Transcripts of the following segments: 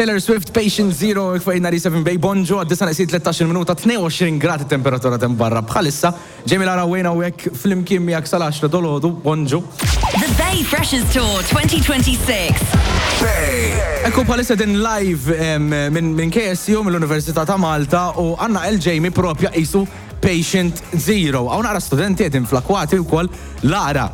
Taylor Swift, Patient Zero, fuq 97 Bay, bonġu, għad-disa neqsin 13 minuta, 22 grad it-temperatura t'hemm barra bħalissa. Jamie Lara Wayne hawnhekk flimkien miegħek sal-10 dolodu, bonġu. The Bay Freshers Tour 2026. Bay. Ekku bħalissa din live minn min KSU mill-Università ta' Malta u għanna El Jamie propja isu Patient Zero. Hawn naqra studenti qegħdin fl-akwati wkoll Lara.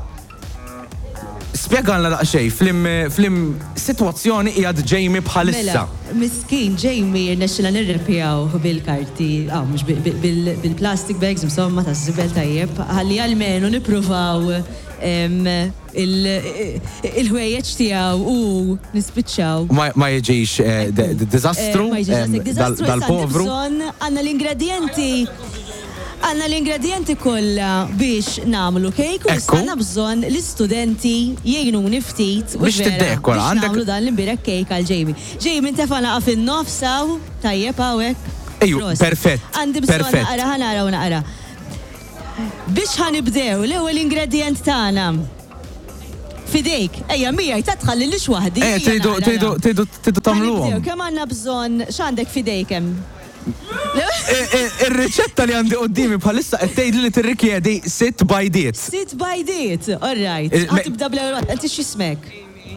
Spjegalna daqsxejn f'liem f'liem sitwazzjoni qiegħed Jamie bħalissa. Mela, miskin Jamie rnexxilna nirrepjawh bil-karti, ah mhux bil-plastic bags insomma taż-żibel tajjeb, ħalli almenu nippruvaw il-ħwejjeġ tiegħu u nispiċċaw. Ma jiġix diżastru dal-povru. Għandna l-ingredjenti. Għandna l-ingredjenti kollha biex nagħmlu kejk u issa għandna bżonn l-istudenti jgħinuni ftit u Biex tiddekora. Biex nagħmlu dan l-imbierek kejk għal Jamie. Jamie ntefa' naqa' fin-nofs hawn, tajjeb hawnhekk. Ejju, perfett. Għandi bżonn naqra, ħa naraw naqra. Biex ħa nibdew, l-ewwel ingredjent tagħna. F'idejk. Ejja miegħi ta' tħallilix waħdi. Eh, tridu, tridu, tridu, tridu tagħmluhom. Kemm għandna bżonn, x'għandek f'idejk hemm? Ir-riċetta li għandi quddiemi bħalissa qed tgħidli li tirrikjedi sitt bajdiet. Sitt bajdiet, all right. Ħa tibda bl-ewwel waħda. Inti x'ismek? Amy.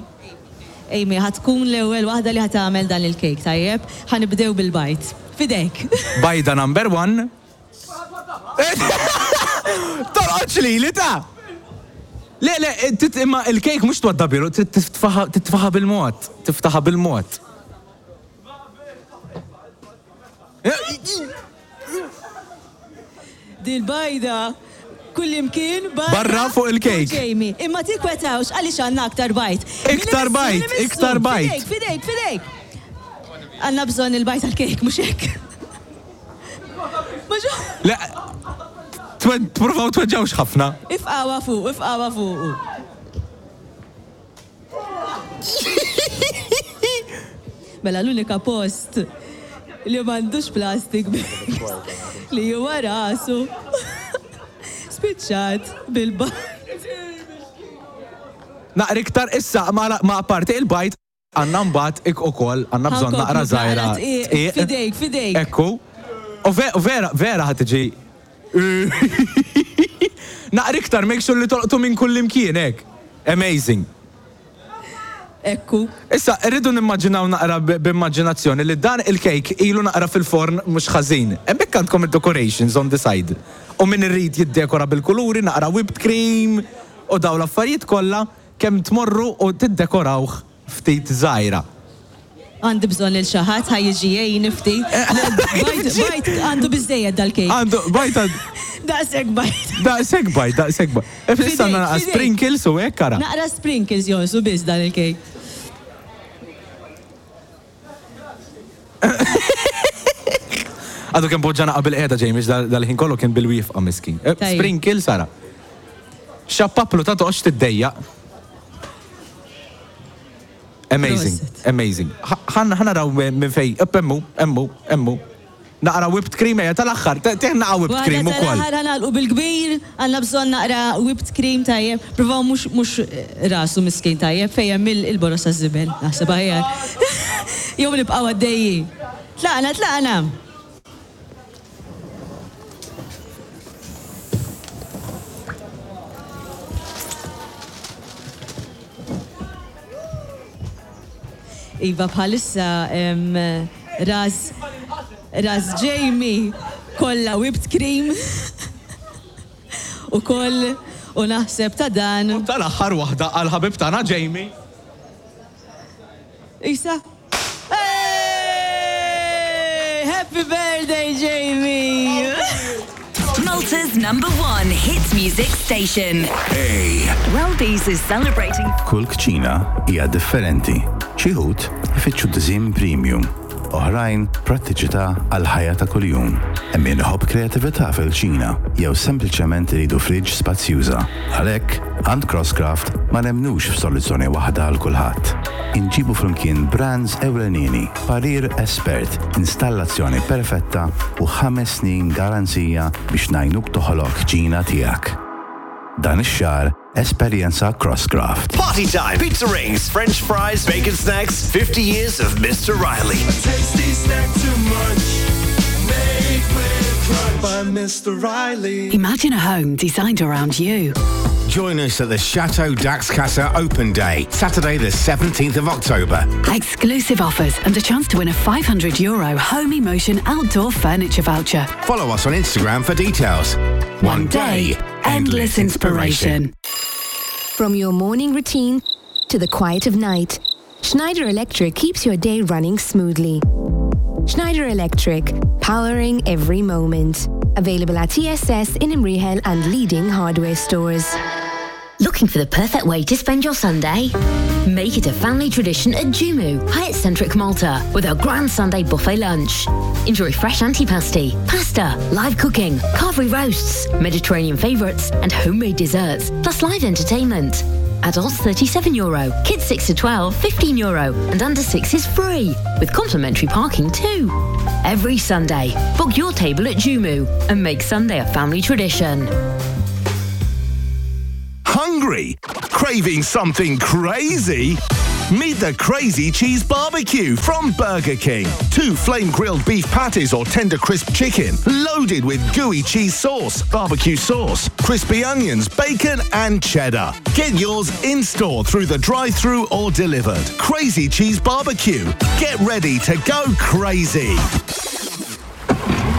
Amy, ħa tkun l-ewwel waħda li ħa tagħmel dan il-kejk, tajjeb? Ħa nibdew bil-bajd. F'idejk. Bajda number one. Torqodx lili ta! Le, le, imma il-kejk mhux twaddabilu, trid titfaħa bil-mod, tiftaħha bil-mod. Dil-bajda kullimkien barra, barra fuq il-kejk. Jamie, imma tikwetawx għaliex għandna aktar bajd. Iktar bajd, iktar bajd. Fidejk, fidejk, fidejk. Għandna bżonn il-bajd tal-kejk, mhux hekk. Le, provaw tweġġawx ħafna. Ifqawa fuq, ifqawa fuq. Mela l-unika post li m'għandux plastic bags li huwa rasu spiċċat bil-bajd. Naqra iktar issa ma apparti il-bajd għandna mbagħad ik ukoll għandna bżonn naqra żgħira dqiq. F'idejk, f'idejk. Ekku. U vera vera ħa tiġi Naqra iktar, make sure li tolqtu minn kullimkien hekk. Amazing. Ekku. Issa, irridu nimmaġinaw naqra b'immaġinazzjoni li dan il-kejk ilu naqra fil-forn mhux ħażin. Hemmhekk għandkom id-decorations on the side. U min irid jiddekora bil-kuluri, naqra whipped cream u dawn l-affarijiet kollha, kemm tmorru u tiddekorawh ftit żgħira. Għandi bżonn lil xi ħadd ħa jiġi jgħinni ftit. Bajd, bajd għandu biżżejjed dal-kejk. Għandu, bajd għandu. Daqshekk bajd. Daqshekk bajd, daqshekk bajd. Issa għandna naqra sprinkles u hekk ara. Naqra sprinkles jonqsu biss dan il-kejk. Għadu kemm poġġa naqa bil-qiegħda Jamie dal-ħin kollu kien bil-wieqfa miskin. Sprinkles ara. Xappaplu ta' toqgħodx tiddejjaq. Amazing, amazing. Ħa naraw minn fej, emmu, emmu, emmu. Naqra whipped cream ejja tal-aħħar, tih naqa whipped cream ukoll. Tal-aħħar ħa nagħlqu bil-kbir, għandna bżonn naqra whipped cream tajjeb. Provaw mhux mhux rasu miskin tajjeb fejn hemm il-boroż taż-żibel, naħseb aħjar. Jew nibqgħu għaddejjin. Tlaqna, tlaqna! Iva bħalissa ras ras Jamie kollha whipped cream ukoll u naħseb ta' dan. U tal-aħħar waħda għall-ħabib tagħna Jamie. Isa. Hey! Happy birthday, Jamie! Malta's number one hit music station. Hey. Welby's is celebrating. Kull kċina hija differenti. Xi wħud ifittxu diżinn premium, oħrajn prattiċità għall-ħajja ta' kuljum. Hemm min iħobb kreatività fil-kċina jew sempliċement iridu fridge spazjuża. Għalhekk, għand Crosscraft ma nemmnux f'soluzzjoni waħda għal kulħadd. Inġibu flimkien brands ewlenini, parir espert, installazzjoni perfetta u ħames snin garanzija biex ngħinuk toħloq kċina tiegħek. Dan ix-xahar esperjenza Crosscraft. Party time! Pizza rings, french fries, bacon snacks, 50 years of Mr. Riley. A tasty snack to munch, made with crunch by Mr. Riley. Imagine a home designed around you. Join us at the Chateau Dax Casa Open Day, Saturday the 17th of October. Exclusive offers and a chance to win a 500 euro Home Emotion outdoor furniture voucher. Follow us on Instagram for details. One day, endless inspiration. From your morning routine to the quiet of night, Schneider Electric keeps your day running smoothly. Schneider Electric, powering every moment. Available at ESS in Imrihel and leading hardware stores. Looking for the perfect way to spend your Sunday? Make it a family tradition at Jumu, Hyatt Centric Malta, with our Grand Sunday buffet lunch. Enjoy fresh antipasti, pasta, live cooking, carvery roasts, Mediterranean favourites, and homemade desserts, plus live entertainment. Adults 37 euro, kids 6 to 12, 15 euro, and under 6 is free, with complimentary parking too. Every Sunday, book your table at Jumu and make Sunday a family tradition. Hungry? Craving something crazy? Meet the Crazy Cheese Barbecue from Burger King. Two flame grilled beef patties or tender crisp chicken, loaded with gooey cheese sauce, barbecue sauce, crispy onions, bacon, and cheddar. Get yours in store through the drive through or delivered. Crazy Cheese Barbecue. Get ready to go crazy.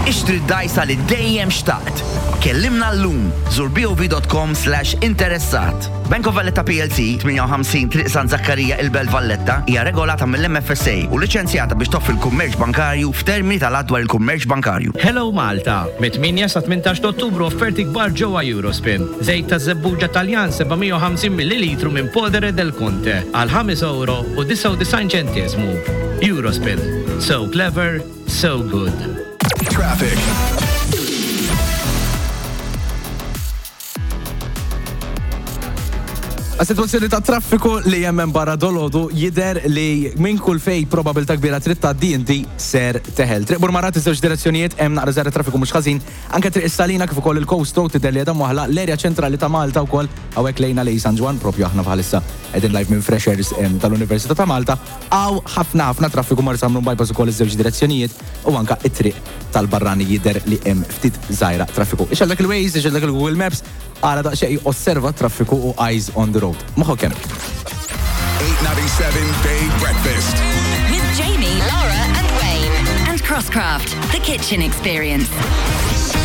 Ixtri d-dajsa li dejjem xtaqt. Kellimna llum, żur bov.com/interessat. Bank of Valletta PLC, 58 Triq San Zakkarija il-Belt Valletta, hija regolata mill-MFSA u liċenzjata biex toffri l-kummerċ bankarju f'termini tal-Att dwar il-Kummerċ Bankarju. Hello Malta! Mit-8 sa 18 ta' Ottubru offerti kbar ġewwa Eurospin. Żejt taż-żebbuġa Taljan 750 millilitru minn Podere del Conte għal 5 ewro u 99 ċenteżmu. Eurospin. So clever, so good. Traffic. Għas-sitwazzjoni ta' traffiku li hemm hemm barra dolodu jidher li minn kull fej probabilta kbira trid tgħaddi inti ser teħel. Triq Burmarat iż-żewġ direzzjonijiet hemm naqra żgħira traffiku mhux ħażin, anke Triq is-Salina kif ukoll il-Coast Road tidher li qiegħda mwaħħla l-erja ċentrali ta' Malta wkoll hawnhekk lejna lejn San Ġwann propju aħna bħalissa qegħdin live minn Freshers tal-Università ta' Malta. Hawn ħafna ħafna traffiku Marsamrun Bypass ukoll iż-żewġ direzzjonijiet u anka it-triq tal-barrani jidher li hemm ftit żgħira traffiku. Ixgħel dak il-Waze, ixgħel dak il-Google Maps, ara daqsxejn osserva t-traffiku u eyes on the road. Moħħok hemm. 897 Bay Breakfast. With Jamie, Laura, and Wayne. And Crosscraft, the kitchen experience.